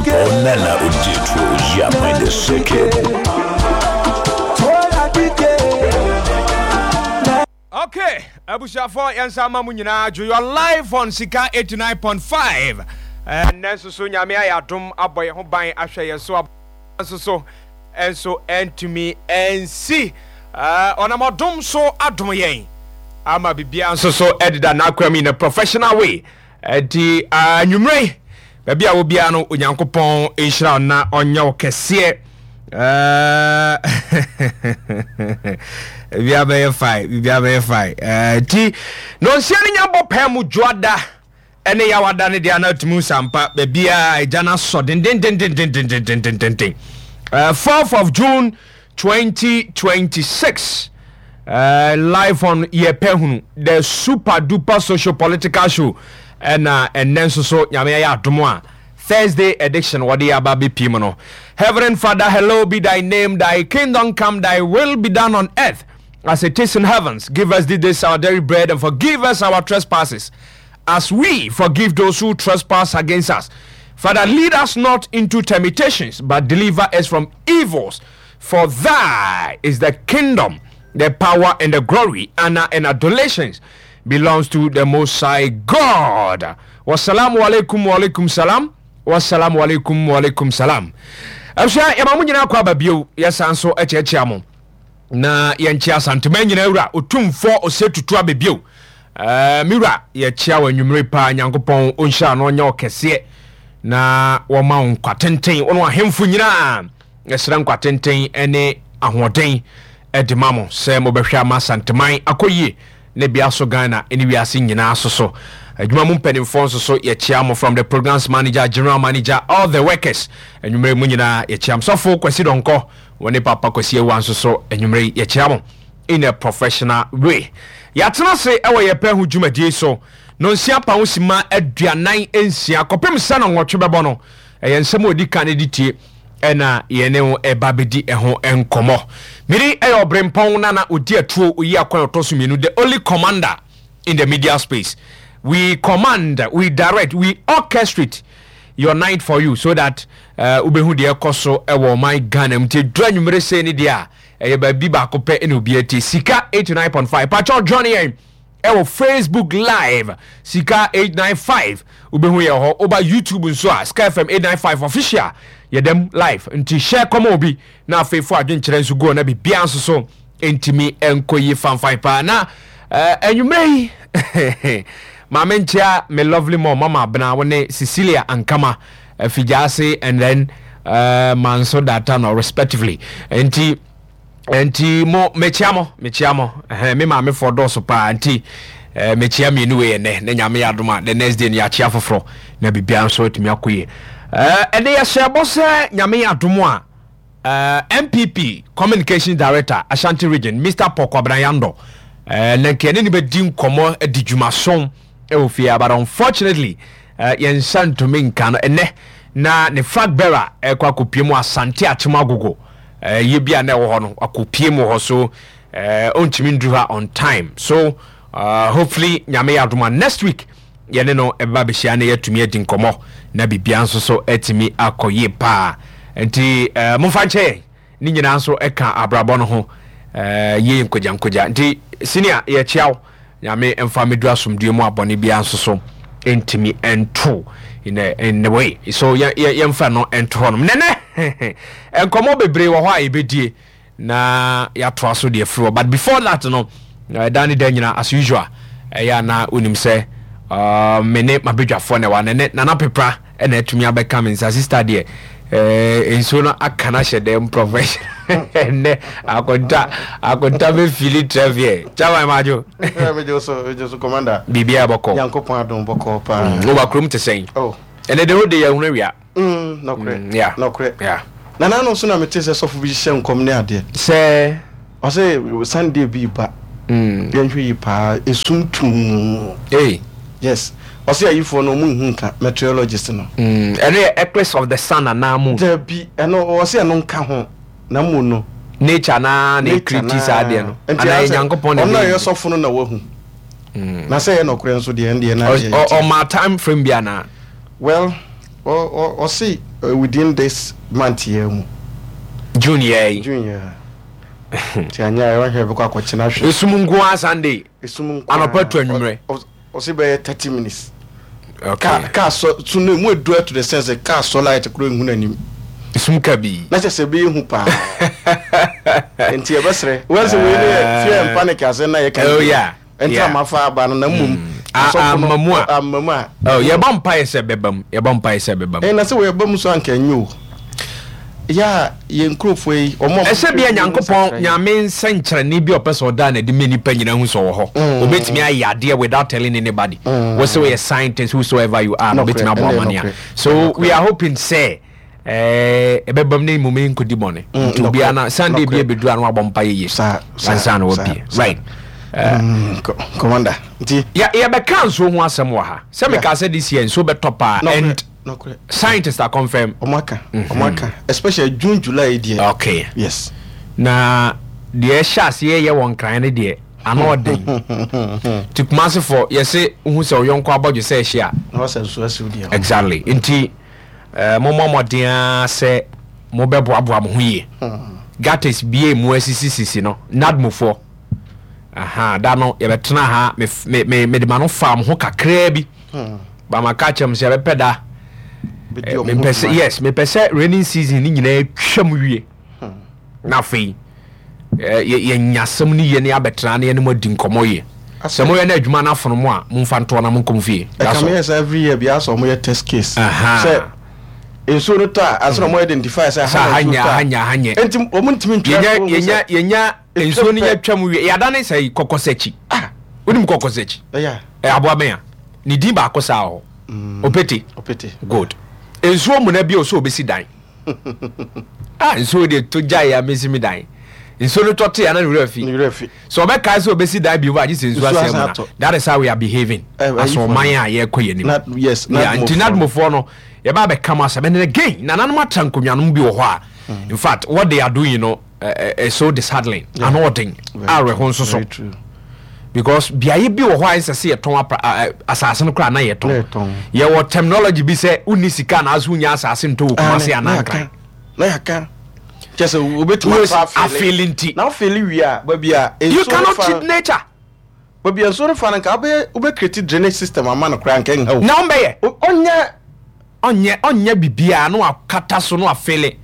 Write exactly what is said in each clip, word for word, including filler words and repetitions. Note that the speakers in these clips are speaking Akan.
Obrempong Nana Odietuo Oyiaman the second. Okay, abusuafoɔ, yɛn nsa ama mo nyinaa dwo. You are live on Sika eighty-nine point five. Ɛnnɛ nso so Nyame ayɛ adom abɔ yɛn ho ban, ahwɛ yɛn so nso so nso ɛntumi ɛnsi. Ɔnam ɔdom so adom yɛn ama biribiara nso so ɛdeda n'akwan mu in a professional way. Ɛnti anwummerɛ yi, baabi a wobiara no, Onyankopɔn nhyira wo na ɔnyɛ wo kɛseɛ. Biribiara bɛyɛ fine, biribiara bɛyɛ fine. Nti nonsia no nya bɔ pɛɛ mu dwoada ɛne yawada no deɛ, ana atumi nsampa baabiaa agya no asɔ dendendendendendendendenden. fourth of June twenty twenty-six, uh, live on Yɛpɛ Hunu, the super duper social political show. Ɛna ɛnɛ nso so Nyame ayɛ adom a Thursday edition wɔde aba bɛpie mu no. Heavenly Father, hallowed be thy name. Thy kingdom come, thy will be done on earth as it is in heavens. Give us this day our daily bread and forgive us our trespasses as we forgive those who trespass against us. Father, lead us not into temptations, but deliver us from evils. For thy is the kingdom, the power, and the glory, honor, and adulations belongs to the Most High God. Wassalamu alaikum wa alaikum salam. Wassalamu alaikum wa alaikum salam. Abusua, yɛma mo nyinaa kɔ aba bio. Yɛsan so akyerɛkyerɛ mo na yɛnkyɛ Asantema nyinaa wura Otumfoɔ Ɔsɛ Tutu abɛbio. Uh, me wura, yɛkyia wɔ anwummere paa. Nyankopɔn ɔnhyira no, ɔnyɛ ɔkɛseɛ na wɔma wo nkwa tenten. Wo no ahemfo nyinaa, yɛsrɛ nkwa tenten ne ahoɔden de ma mo sɛ mobɛhwɛ ama Asanteman akɔ yie ne bea so Ghana ne wiase nyinaa so. So adwuma mu mpanimfoɔ nso so yɛkyia mo, from the programs manager, general manager, all the workers. Anwummere mu nyinaa yɛkyia mo. Sɔfo Kwasi Dɔnkɔ wɔ ne Papa Kwasi Awua nso so, anwummere yɛkyia mo in a professional way. Yɛatena se ɛwɔ Yɛpɛ Ho dwumadie so no nsia pa ho sima aduanan nsia kɔpem sɛ no nwɔtwe bɛbɔ no. Ɛyɛ nsɛm a ɔdi kan de tie ɛna yɛne wo ɛba bɛdi ɛho nkɔmmɔ. Mede ɛyɛ Ɔberempɔn Nana Ɔdi Atuo Oyi Akwan ɔtɔ so mmienu, the only commander in the media space. We command, we direct, we orchestrate your night for you so that wobɛhu uh, deɛ ɛkɔ so ɛwɔ ɔman Ghana mu. Nti dura anwummere sei ne deɛ a ɛyɛ baabi baako pɛ ɛna obi atie, Sika eighty-nine point five. Pakyɛw, join yɛn ɛwɔ Facebook Live, Sika eight nine five, wobɛhu yɛ hɔ. Woba YouTube nso a, Sika F M eight nine five Official, yɛdɛm live. Nti hyɛ kɔma obi na afei fo adwenkyerɛ nso gu na biribiara nso so ntumi nkɔ yie fanfan paa. Na anwummerɛ yi, maame nkyia me lovely mom, Mama Abena, wo ne Cecilia Ankama Afigyaase and then uh, Manso Data no respectively. Nti nti mo mekyia mo, mekyia mo. Ɛhɛn, me maame fɔ dɔɔso paa, nti ɛɛ mekyia mmienu wei ɛnɛ ne Nyame yɛ adom a, the next day no yɛakyia foforɔ na biribiara nso atumi akɔ yie. ɛɛ ɛde yɛhyɛ bɔ sɛ Nyame yɛ adom a, ɛɛ N P P Communication Director, Ashanti Region, Mister Paul Kwabena Yando, ɛɛ na nkɛne ne bɛdi nkɔmmɔ adi dwumason ɛwɔ fie, but unfortunately ɛɛ yɛn nsa ntumi nka no ɛnɛ na ne flag bearer ɛkɔ akɔpie mu Asante Akyem Agogo yie bi a na ɛwɔ hɔ no, akɔpie mu hɔ so ɛɛ ɔntumi nduru ha on time. So uh, hopefully Nyame yɛ adom a, next week yɛne no ɛbɛba bɛhyia na yɛatumi adi nkɔmmɔ na biribiara nso so atumi akɔ yie paa. Nti ɛɛ momfa nkyɛ yɛn, ne nyinaa nso ɛka abrabɔ no ho ɛɛ yie nkogya nkogya. Nti senior, yɛkyia wo. Nyame mfa meduru asomdue mu, abɔne biara nso so ntumi nto in a, in a way so yɛmfa no nto hɔ nom. Nɛnɛ nkɔmmɔ bebree wɔ hɔ a yɛbɛdie na yɛatoa so deɛ firi hɔ, but before that no, ɛda ne da nyina as usual ɛyɛ ana wonim sɛ uh, me ne mabadwafoɔ na ɛwɔ nɛnɛ. Nana Pepra ɛna atumi abɛka me nsa. Sister deɛ, eh, nsuo no aka no ahyɛ dɛm profession. Ɛnɛ akonta akonta bɛfili trɛfiɛ chairman madwo. Megye so, megye so, commander. Biribiaa bɔkɔ? Nyankopɔn adom, bɔkɔ paa. Woba kurom te sɛn? Oh. Ɛnɛ de wode yɛhunu awia. Mm, nɔkorɛ. Mm, yeah. Nɔkorɛ. Yeah. Nana no nso na mete sɛ sɔfo bi hyɛ nkɔm ne adeɛ. Sɛ ɔsɛ Sunday bi ba, mm. yɛnhwɛ yi paa, esum tuu. Hey. Yes, ɔsɛ ayifoɔ no ɔmo nhu nka meteorologist no. Mm. Ɛno yɛ eclipse of the sun anaa moon? Dabi, ɛno ɔsɛ ɛno nka ho na mu no. Nature naa na nature ɛcreate saa adeɛ no nti anaa asɛ Nyankopɔn na ɔno a ɛbɛyɛ? Ɛyɛ sɔfo no na wahu na sɛ ɛyɛ nɔkorɛ nso deɛ, ɛndeɛ na Ɔ- deɛ ɔ- yɛte. Ɔma time frame bi anaa? Well, Ɔse within this month yɛ mu. June yɛ yi. June yɛ. Nti anya ɛwɔ bɛkɔ akɔkyena hwɛ. Esum nko ara Sunday. Esum nko. Anɔpa to anwummerɛ. Ɔse bɛyɛ thirty minutes. Okay. Kaa sɔ so no emu edu to the sense kaa sɔ light kuro ehu n'anim. Esum kabii. Na kyerɛ sɛ ɛbɛyɛ hu paa. Nti yɛbɛsrɛ. Wɔn sɛ wei ne yɛ fear and panic asɛm na yɛka. Oh yeah. Nti amafa aba no na mmom. Amamu a. Amamu a. Oh, yɛbɔ mpaeɛ sɛ bɛba mu. Yɛbɔ mpaeɛ sɛ bɛba mu. Ɛna sɛ wɔyɛba mu so anka ɛnyɛ o. Yɛ yɛn nkurɔfoɔ yi ɔmo. Ɛsɛ bia Nyankopɔn Nyame nsɛnkyerɛnne bi a ɔpɛ sɛ ɔda n'adi ma nipa nyinaa hu sɛ ɔwɔ hɔ. Obetumi ayɛ adeɛ without telling anybody. Wɔ sɛ wɔyɛ scientist, whosoever you are, obetumi abɔ amanneɛ. So we are hoping sɛ ɛbɛbam ne mmom nkɔdi bɔne. Nti obiara na Sunday bi ebedu ano abɔ mpa yie. Ansa na wabie. Right. Uh, Commander. Nti. Ya yɛbɛka nsuo ho asɛm wɔ ha. Sɛ meka sɛ this year nsuo bɛtɔ paa and scientists are confirm. Ɔmo aka. Ɔmo aka. Especially June, July deɛ. Okay. Yes. Na deɛ ɛhyɛ aseɛ yɛ wɔ Nkran no deɛ ano ɔden. Nti Kumasefo yɛse wohu sɛ ɔyɔnko abɔdwe sɛ ɛhye a. Na wasɛ nsuo asiw deɛ. Exactly. Nti uh, mommɔ mmɔden ara sɛ mobɛboaboa mo ho yie. Gutters bie mu asisisisi no nadmofoɔ. Aha, da no yɛbɛtena ha, me me me mede ma no fa mo ho kakraa bi. Ba ma ka kyerɛ mo sɛ yɛbɛpɛ da. Mepɛ sɛ, yes, mepɛ sɛ raining season ne nyinaa twam wie. Na afei yɛnya asɛm no yie ne abɛtena ne yɛne mo adi nkɔmmɔ yie. Sɛ moyɛ no adwuma no afono mo a, momfa ntoɔ na monkɔ mo fie. Ɛka meyɛ sɛ every year biara sɛ ɔmoyɛ test case. Sɛ nsuo no tɔ a, asɛ na ɔmo identify sɛ ha na nsuo tɔ a. Ha nyɛ. Enti ɔmo ntumi ntwa. Yɛnya yɛnya nsuo no nya twam wie. Yɛadane sɛ kɔkɔsakyi. Wonim kɔkɔsakyi? Ɛyɛ aboa bɛn a ne din baako saa hɔ. Opete. Opete. Good. Nsuo muna bi a ɔsɛ obɛsi dan. Ah, nsuo deɛ to gyae a mesi mi dan. Nsuo no tɔ te a na ne werɛ fi. Ne werɛ fi. So ɔbɛkae sɛ obɛsi dan bio agye sɛ nsuo asɛe mu na. That is how we are behaving. As ɔman a yɛkɔ yɛn anim. Yes. Yeah, nti nadmofoɔ no yɛba abɛka mo asɛm. And again, nananom atra nkonnwanom bi wɔ hɔ a, in fact, what they are doing no uh, is so disheartening. Ano ɔden. Awerɛho nso so. Because beaeɛ bi wɔ hɔ a ɛnsɛ sɛ yɛtɔn asase no koraa na yɛtɔn. Yɛwɔ terminology bi sɛ wonni sika anaasɛ wonya asase ntɔ wɔ Kumase anaa Nkran. Na yɛaka kyɛ sɛ wobɛtumi afeele nti. Na wofeele wie a, baabi a you cannot cheat nature. Baabi a nsuo no fa no nka wobɛyɛ wobɛ create drainage system ama no koraa nka nha wo. Na ɔmbɛyɛ. Ɔnyɛ. Ɔnyɛ ɔnyɛ biribiara na wakata so na wafeele.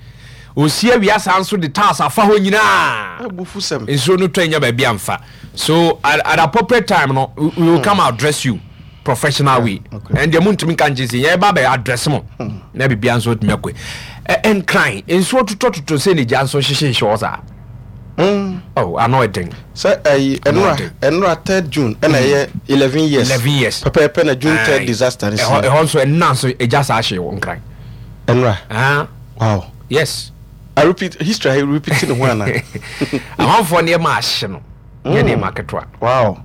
Osi awia saa nso de tiles afa hɔ nyinaa. Abufusɛm. Nsuo no tɔ nya baabi amfa. So at, at appropriate time no, we, we will come address you professional way. And deɛ muntumi nka nkyɛn sɛ yɛn ba bɛ address mo. Na biribiara nso tumi akɔ. Nkran nsuo totɔtotɔ sɛ ne gya nso hyehyɛ hɔ saa. Oh, ano ɛden. Sɛ ɛyi ɛnura ɛnura third June ɛna ɛyɛ eleven years. Eleven years. Pɛpɛɛpɛ na June third disaster ni si. Ɛhɔ ɛhɔ nso ɛnna nso egya saa ahye wɔ Nkran. Ɛnura. Ah. Wow. Yes. I repeat history, I repeat ne ho ana. Amanfoɔ nneɛma ahye no nyɛ nneɛma ketewa. Wow.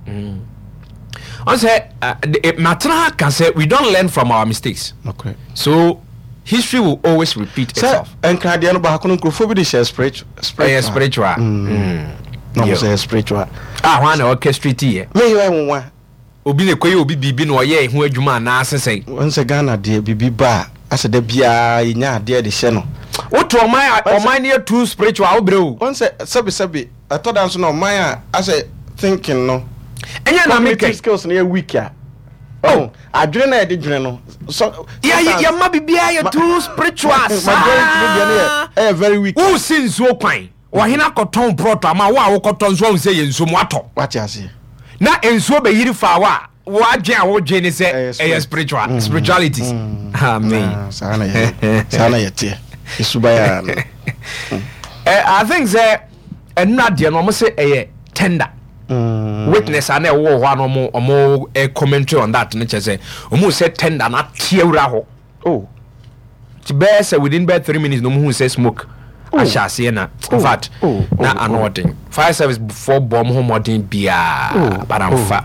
Ɔn sɛ matena ha ka sɛ we don't learn from our mistakes. Okay. So history will always repeat itself. Sɛ nkradeɛ no baako no nkurɔfoɔ bi de hyɛ spiritual. Ɛyɛ spiritual. Na ɔmo sɛ spiritual. Ah, wɔn na orchestrate yɛ. Me yɛ nwa. Obi na ekoyɛ obi biribi na ɔyɛ ɛho adwuma anaa sesɛn. Wɔn sɛ Ghana deɛ biribi ba a asɛ da biara yɛnya adeɛ de hyɛ no. Woto ɔman a ɔman no yɛ too spiritual wobrɛ o. Wɔn sɛ sɛbi sɛbi ɛtɔ da nso na ɔman a asɛ thinking no. Ɛnyɛ na mi kɛ. Skills no yɛ weak a. Oh, adwene na yɛde dwene no. So yɛ yɛ ma biribiara yɛ too spiritual saa. Majority no deɛ no yɛ ɛyɛ very weak. Wusi nsuo kwan ɔhene akɔtɔn prɔto ama wo a wokɔtɔ nsuo ahun sɛ yɛ nsuo mu atɔ. Wate aseɛ. Na nsuo bɛyiri fa wa wadwen a wodwen ne sɛ ɛyɛ spiritual mm. spiritualities. Mm. Amen. Saa na yɛ saa na yɛ teɛ esuba yɛ ano. I think sɛ ɛnura deɛ no ɔmo sɛ ɛyɛ tender. Mm. Witness a na ɛwɔ hɔ a na ɔmo ɔmo commentary on that no kyerɛ sɛ ɔmo sɛ tender na ate awura hɔ. Oh. Ti bɛyɛ sɛ within bɛyɛ three minutes na ɔmo hu sɛ smoke ahyɛ aseɛ na in fact na ano ɔden fire service foɔ bɔ ɔmo ho mmɔden biara but amfa.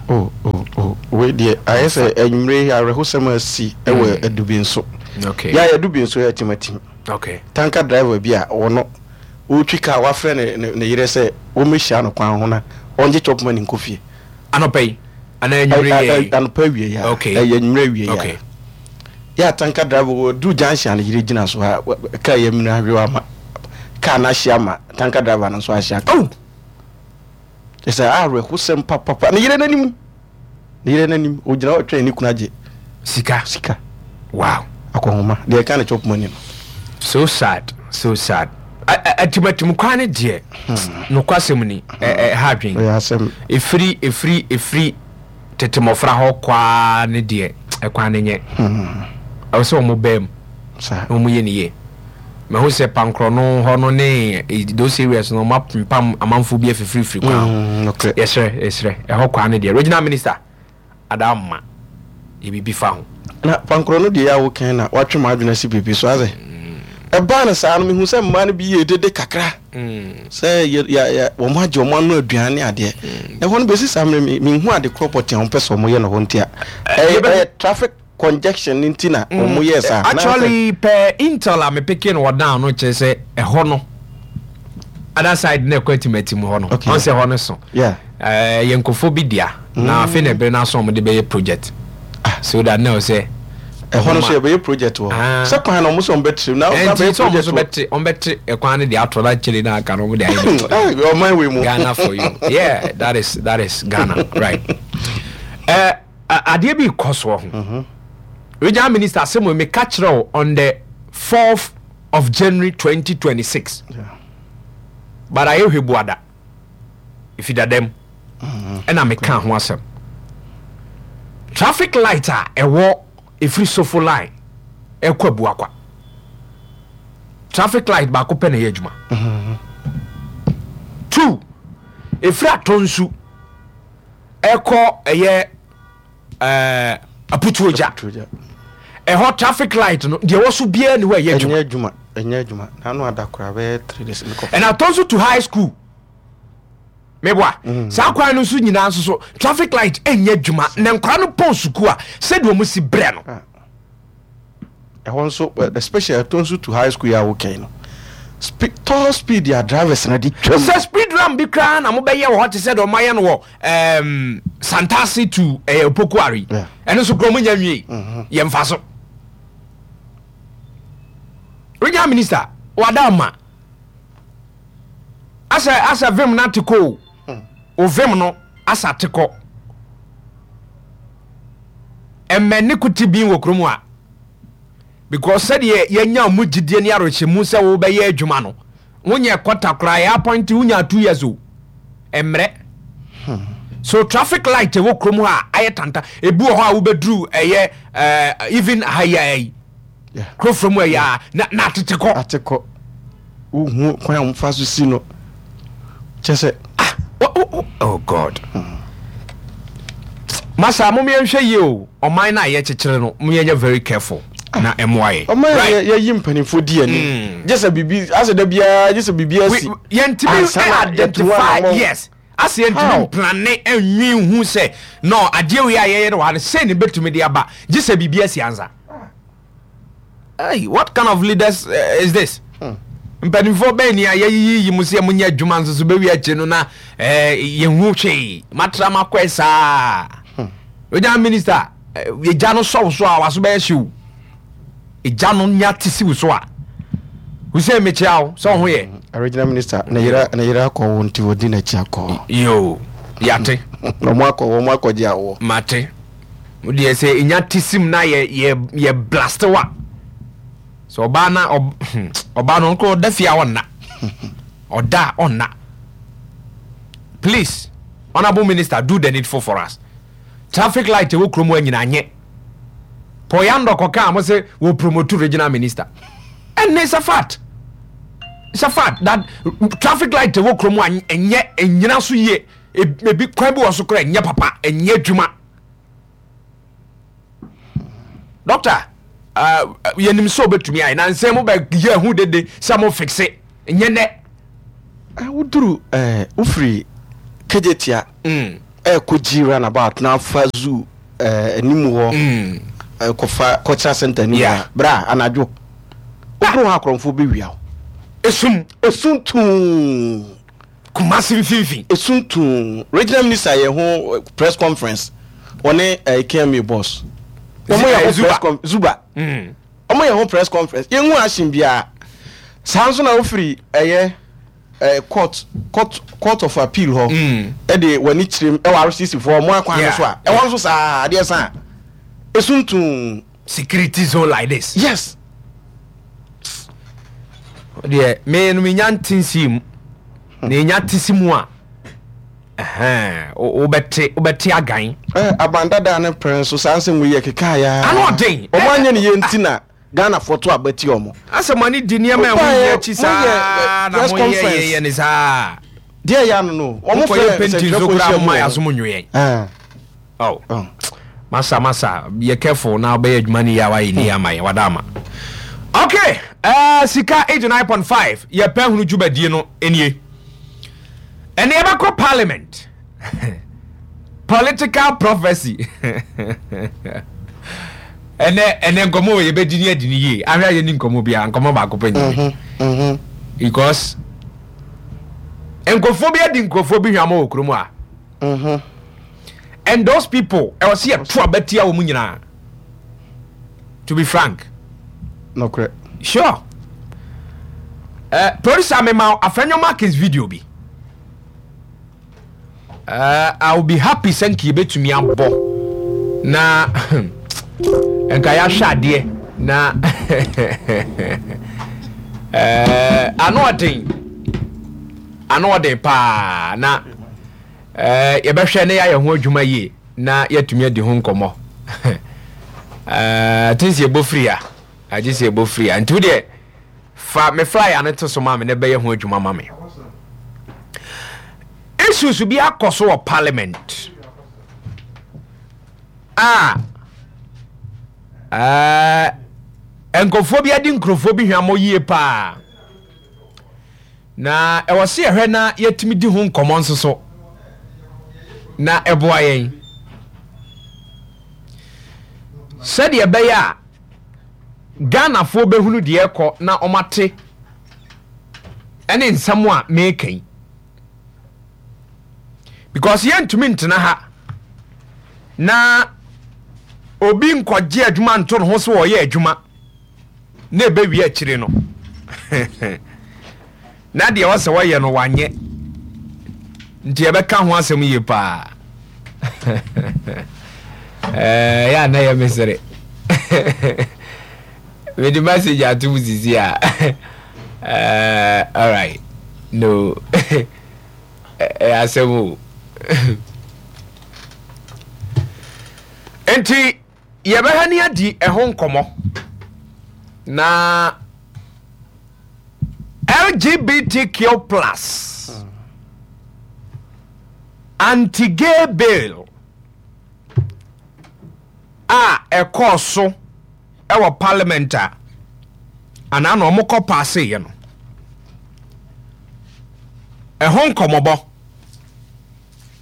Wei deɛ ayɛ sɛ anwummere awerɛhosɛm asi ɛwɔ Adubi nso. Okay. Yɛ Adubi nso yɛ timatim. Okay. Tanker driver bi a ɔno ɔretwi kaa wafrɛ ne ne ne yerɛ sɛ wɔmmɛhyia no kwan ho na ɔngye chop money nkɔ fie. Anɔpa yi anaa anwummere yɛ yi? Anɔpa awie yi a. Okay. Ɛyɛ anwummere awie yi a. Okay. Yɛ a tanker driver wɔduru junction a ne yere gyina so a kaa yɛ minu ahwe ama kaa no ahye ama tanker driver no nso ahye aka. Oh. Ɛsɛ awerɛhosɛm papapa. Ne yere n'anim, ne yere n'anim, ogyina hɔ twɛn ne kunu agye sika. Sika. Wow. Akɔnhoma deɛ ɛka ne chop money no. So sad, so sad. Atimatim kwan ne deɛ, nokwasɛm ni, ɛha adwen. Ɛyɛ asɛm. Ɛfiri ɛfiri ɛfiri tete mmɔfra hɔ kwaa ne deɛ, ɛkwan ne nyɛ. Ɛwɔ sɛ wɔn bɛn mu Saa. Na wɔn yɛ ne yie. Mahu sɛ Pankorɔno hɔ no ne those areas no, wɔn apempam amanfoɔ bi afifirifiri kwan ho. Mm, nokorɛ. Yɛsrɛ, yɛsrɛ, ɛhɔ kwan ne deɛ, regional minister ada ama yɛ biribi fa ho. Na Pankorɔ no deɛ a wokan na watwe m'adwene asi biribi so asɛ ɛbaa no saa no, mehu sɛ mmaa no bi yɛ dede kakra sɛ yɛ yɛ yɛ wɔn agye wɔn ano aduane ne adeɛ. Ɛhɔ no bɛsi saa mmerɛ mi menhu ade korɔ pɔtee a wɔn pɛ sɛ wɔn yɛ no hɔ nti a ɛyɛ ɛyɛ traffic congestion ne nti na wɔn yɛ saa. Actually, pɛ intel a mepeke no wɔ down no kyerɛ sɛ ɛhɔ no, other side na ɛkɔ atimatim hɔ no. Okay. Ɔn sɛ hɔ no so Yeah. ɛɛ yɛ nkurɔfoɔ bi dea na afei na ɛbɛrɛ no aso a wɔde bɛyɛ project so that na ɔsɛ ɛhɔ no so yɛbɛyɛ project wɔ Ah. sɛ kwan na wɔn sɛ wɔn bɛtiri na wɔn ɛnti bɛyɛ sɛ ɔmo project nso wɔ bɛte, ɔmo bɛte ɛkwan no de ato na kyerɛ na aka no ɔmo de ayɛ ne Ɛɛ, ɔman wei mu. Ghana for you. Yeah, that is that is Ghana, right? Uh, adeɛ bi kɔ soɔ ho. Regional minister asɛm wɔ meka kyerɛ wo on the fourth of January twenty twenty-six. Yeah. But ayɛ hwɛ buada. Efi dadam. Ɛna meka ho asɛm. Traffic light a ɛwɔ efiri Sofo Line ɛkɔ Abuakwa. Traffic light baako pɛ na ɛyɛ adwuma. Two, efiri Atɔnsu ɛkɔ ɛyɛ ɛɛ Aputuogya. Aputuogya. Ɛhɔ traffic light no deɛ ɛwɔ so biara ni hɔ a ɛyɛ adwuma. Ɛnyɛ adwuma, ɛnyɛ adwuma. N'ano ada koraa bɛyɛ three days mekɔ. Ɛna Atɔnsu to high school meboa saa kwan no nso nyinaa nso so traffic light ɛnyɛ adwuma, na nkwadaa no pɔn sukuu a, sɛdeɛ wɔn si brɛ no. Ɛhɔ nso eh, especially Ɛtɔ to high school yi a wokɛn no, Spe tall speed a drivers na de twam. Sɛ speed ramp bi koraa na mobɛyɛ wɔ hɔ te sɛ deɛ ɔmayɛ no wɔ um, Santase to eh, Opokuare. Yeah. Ɛno nso koraa monya nwie, yɛmfa so. Regional minister wada ma asɛ asɛ vim no ate kɔ o, o vim no asa ate kɔ ɛmɛ ne kote bin wɔ kurom a, because sɛdeɛ yɛnya mu gyidie ne awerɛhyɛmu sɛ wobɛyɛ adwuma no, wonyɛ kɔta koraa yɛ appoint, wonya two years o, mmerɛ so traffic light ɛwɔ kurom hɔ a ayɛ tanta. Ebi wɔ hɔ a wobɛduru ɛyɛ ɛɛ even ha yi a yi Yeah. kuro from ɛyɛ a na na atete kɔ. Ate kɔ, wohu kwan a wɔfa so si no kyɛ sɛ Ah, oh, oh, oh, oh God, masa mo yɛnhwɛ yie o. Ɔman no a yɛkyekyere no, mo yɛnyɛ very careful na ɛmoa yɛ. Ɔman Right. yɛ yɛyi mpanimfoɔ di anim gye sɛ biribi asɛ da biara gye sɛ biribi asi We- yɛntumi ansa na yɛtu hɔ identify anammɔn. Yes, ase yɛntumi How? plan ɛnwi hu sɛ no adeɛ wei a yɛyɛ no wɔ ha no sɛ ne bɛtumi de aba, gye sɛ biribi asi ansa. Hey, what kind of leaders uh, is this? Mpanimfoɔ bɛn ni a yɛyiyi mu sɛ monyɛ adwuma nso so bɛwi akyi no na eh, yɛhu hwee matra makɔɛ saa? Regional minister, eh, yɛgya no sɔw so a waso bɛyɛ hyew, ɛgya no nya te siw so a. Hussein, mekyia wo sɛ wo ho yɛ. Regional minister ne yere ne yere akɔ wo nti wɔdi n'akyi akɔ. Yo, yate. Ɔmo akɔ, wɔn akɔgye awoɔ. Mate deɛ sɛ ɛnya te sim na yɛ yɛ yɛ blast wa sɛ ɔbaa na ɔb- ɔbaa no ɔnkɔ ɔda fie a ɔnna, ɔda a ɔnna. Please, honourable minister, do the needful for us. Traffic light ɛwɔ kurom hɔ nyinaa nyɛ pɔyandɔ kɔka a mo sɛ wɔ promote regional minister, ɛnne it's a fact, it's a fact that traffic light ɛwɔ kurom a ɛnyɛ ɛnyina so yie. Ebi kwan bi wɔ so koraa ɛnyɛ papa, ɛnyɛ adwuma. Doctor, uh, yɛnim sɛ wobɛtumi ayɛ na nsɛm mo bɛyɛ ahu dede sɛ mo fixe nyɛ nɛ. Ah, woduru ɛɛ wofiri Kejetia Mm. ɛɛkɔ gyi roundabout na afa zoo ɛɛ anim hɔ Mm. ɛkɔfa cultural center anim Yeah. hɔ bra anadwo woduru hɔ akorɔmfoɔ bɛwia wo. Esum. Esum tuu. Kumase mfimfini. Esum tuu. Regional minister yɛ ho eh, press conference, ɔne ɛɛ K M A boss. Wɔn yɛ Eh, ho Zuba. press con Zuba. Mm. Wɔn yɛ ho press conference, yɛn hu ahyɛn biara. Saa nso na wofiri ɛyɛ ɛɛ court court court of appeal hɔ, Mm. ɛde w'ani kyerɛ mu ɛwɔ R C C foɔ ɔmo akwan no Yeah. so a, ɛwɔ nso saa adeɛ san esuntum. Security zone like this. Yes. Deɛ me no menya nte nsi mu na ɛnya te si mu a, ɛhɛn, wo- wobɛte wobɛte agan. Ɛ abandada ne pɛrɛn nso saa nsɛm wo yɛ keka ya. Ano ɔden. Ɔmo anyɛ ne yie nti na Ghana fo to abɛti ɔmo. Asɛ mo ani di nneɛma a ɛho Wobaeɛ, hia akyi saa moyɛ, eh, na press moyɛ conference. yɛyɛ ne saa. Deɛ yɛ ano no, ɔmo mokɔyɛ fɛ painting so nsɛntwerɛfoɔ koraa nhyia mu moma wɔ yɛ hɔ. asom nwe yɛn. Ah, Oh. oh. Masa, masa, yɛ careful na wobɛyɛ adwuma no yie a wayɛ ni ama yɛn wada ama. Okay, uh, Sika eighty-nine point five, yɛpɛ hunu dwumadie no nie. Ɛne yɛbɛkɔ parliament, political prophecy. Ɛnɛ ɛnɛ nkɔmmɔ wɔ yɛbɛdi ne adi ne yie. Ahwɛ a yɛni nkɔmmɔ biara, nkɔmmɔ baako pɛ nyɛ, Mhm. because nkurɔfoɔ bi adi nkurɔfoɔ bi hwamɔ wɔ kurom a, Mhm. and those people, ɛwɔ sɛ yɛto abatia wɔ mu nyinaa, to be frank. Nokorɛ. Sure, uh, producer, mema Afenyo Markins video bi. uh, I will be happy sɛ nka yɛbɛtumi abɔ na nka yɛahwɛ adeɛ na uh, ano ɔden, ano ɔden paa na uh, yɛbɛhwɛ ne yɛayɛ ho adwuma yie na yɛatumi adi ho nkɔmmɔ. uh, ten sɛ yɛbɔ firi a, agye sɛ yɛbɔ firi a, nti wodeɛ fa me flyer no to so ma me ne bɛyɛ ho adwuma ma me. Issues bi akɔ so wɔ parliament a ɛɛ nkurɔfoɔ bi adi nkurɔfoɔ bi hwammɔ yie paa na ɛwɔ sɛ yɛhwɛ na yɛtumi di ho nkɔmmɔ nso so na ɛboa yɛn sɛdeɛ ɛbɛyɛ a Ghanafoɔ bɛhunu deɛ ɛkɔ na ɔmate ɛne nsɛm a meka yi, because yɛntumi ntena ha na obi nkɔgye adwuma nto ne ho so wɔyɛ adwuma na ɛbɛwie akyire no na deɛ ɔsɛ wɔyɛ no wanyɛ. Nti yɛbɛka ho asɛm yie paa. Ɛɛ yɛ ana yɛ mesere mede message ato mu sisi a. ɛɛ alright, no, ɛyɛ asɛm o. Nti yɛbɛha ne adi ɛho nkɔmmɔ na L G B T Q plus anti-gay bill a ɛkɔɔ so ɛwɔ parliament a anaa na ɔmo kɔ paaseeɛ no, ɛho nkɔmmɔbɔ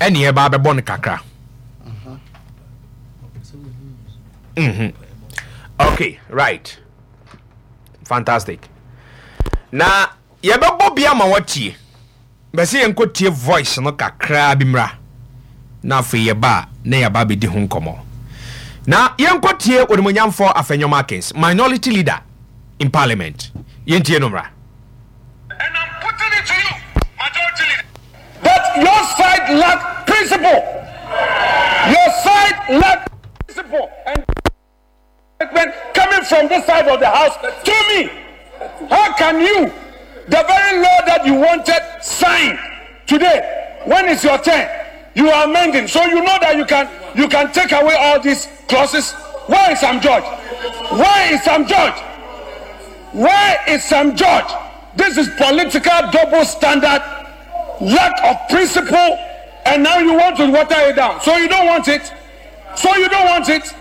ɛne yɛba abɛbɔ no kakra. Mhm. okay right, fantastic. Na yɛbɛbɔ bi ama watie bɛsɛ yɛnkɔ tie voice no kakraa bi mmra na afei yɛba a na yɛba abɛdi ho nkɔmmɔ. Na yɛnkɔ tie Onimonyamfoɔ Afenyo Markins, minority leader in parliament. Yɛntie no mmra. And I'm putting it to you, majority leader, that your side lack principle. Your side lack principle. And coming from this side of the house to me, how can you, the very law that you wanted signed today, when it's your turn, you are amending. So you know that you can you can take away all these clauses. Where is Sam George? Where is Sam George? Where is Sam George? This is political double standard, lack of principle, and now you want to water it down. So you don't want it. So you don't want it.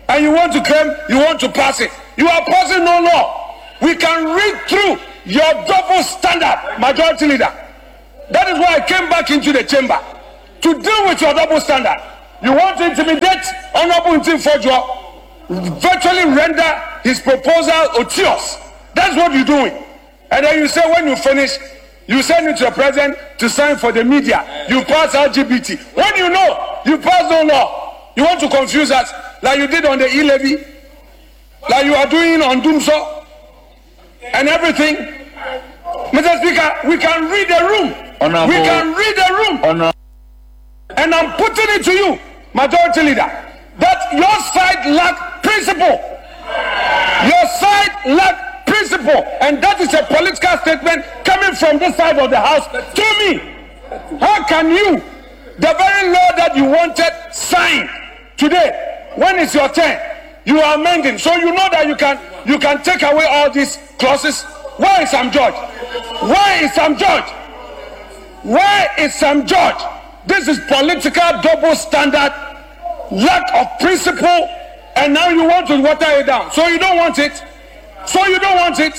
And you want to claim you want to pass it. You are passing no law. We can read through your double standard, majority leader. That is why I came back into the chamber to deal with your double standard. You want to intimidate Honorable Ntim Fordjour, virtually render his proposal odious. That's what you're doing. And then you say when you finish, you send it to the president to sign for the media. You pass L G B T. When you know you pass no law, you want to confuse us. Like you did on the e-levy, like you are doing on Dumsor and everything. Mr. Speaker, we can read the room. Honorable, we can read the room. Honor- And I'm putting it to you, Majority Leader, that your side lack principle. Your side lack principle. And that is a political statement coming from this side of the house to me. How can you, the very law that you wanted signed today, when it's your turn, you are amending. So you know that you can you can take away all these clauses. Where is Sam George? Where is Sam George? Where is Sam George? This is political double standard, lack of principle, and now you want to water it down. So you don't want it. So you don't want it.